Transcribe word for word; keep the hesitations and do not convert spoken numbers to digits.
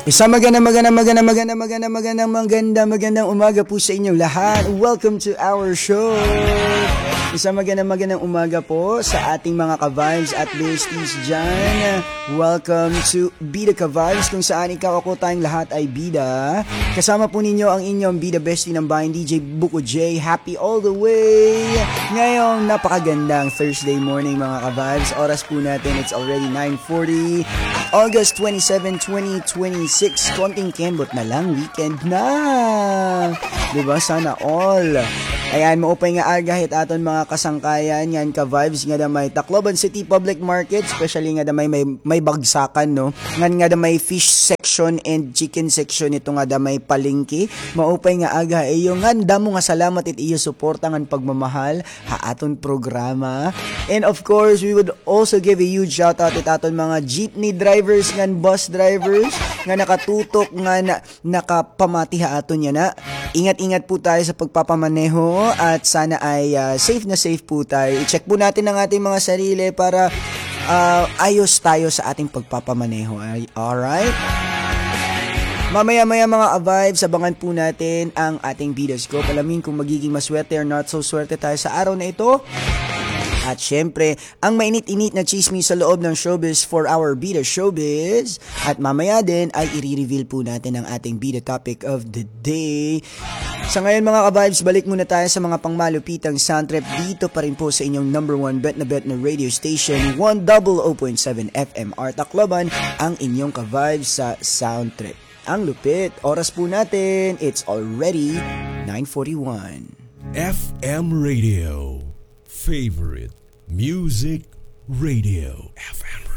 Isang magandang, magandang, magandang, magandang, magandang, magandang, magandang, magandang umaga po sa inyong lahat. Welcome to our show. Isang magandang, magandang umaga po sa ating mga ka-vibes at besties dyan. Welcome to Bida Ka-Vibes, kung saan ikaw, ako, tayong lahat ay bida. Kasama po ninyo ang inyong bida bestie ng bayan, D J Buko J. Happy all the way. Ngayong napakagandang Thursday morning, mga ka-vibes. Oras po natin, it's already nine forty. August twenty-seven, twenty twenty-six. Konting kembot na lang, weekend na. Diba? Sana all. Ayan, maupay nga aga hit aton mga kasangkayan ngan ka-vibes ngada may Tacloban City Public Market, especially ngada may, may, may bagsakan, no? Ngan ngada may fish section and chicken section ito ngada may palengke. Maupay nga aga ha iyo ngan damo nga salamat it iyo suporta ngan pagmamahal ha aton programa. And of course, we would also give a huge shout out it aton mga jeepney drivers ngan bus drivers nga nakatutok ngan nakapamati ha aton yana. Ingat-ingat po tayo sa pagpapamaneho at sana ay, ah, safe na safe po tayo. I-check po natin ang ating mga sarili para, ah, ayos tayo sa ating pagpapamaneho. Ay, alright? Mamaya-maya, mga ka-vibes, abangan po natin ang ating Bida Scoop. Alamin kung magiging maswerte or not so swerte tayo sa araw na ito. At syempre, ang mainit-init na chismis sa loob ng showbiz for our Bida Showbiz. At mamaya din ay i-reveal po natin ang ating Bida Topic of the Day. Sa ngayon, mga ka-vibes, balik muna tayo sa mga pangmalupitang sound trip dito pa rin po sa inyong number one bet na bet na radio station, one double o point seven F M R Tacloban, ang inyong ka-vibes sa sound trip. Ang lupit, oras po natin, it's already nine forty-one. F M Radio, favorite music radio. F M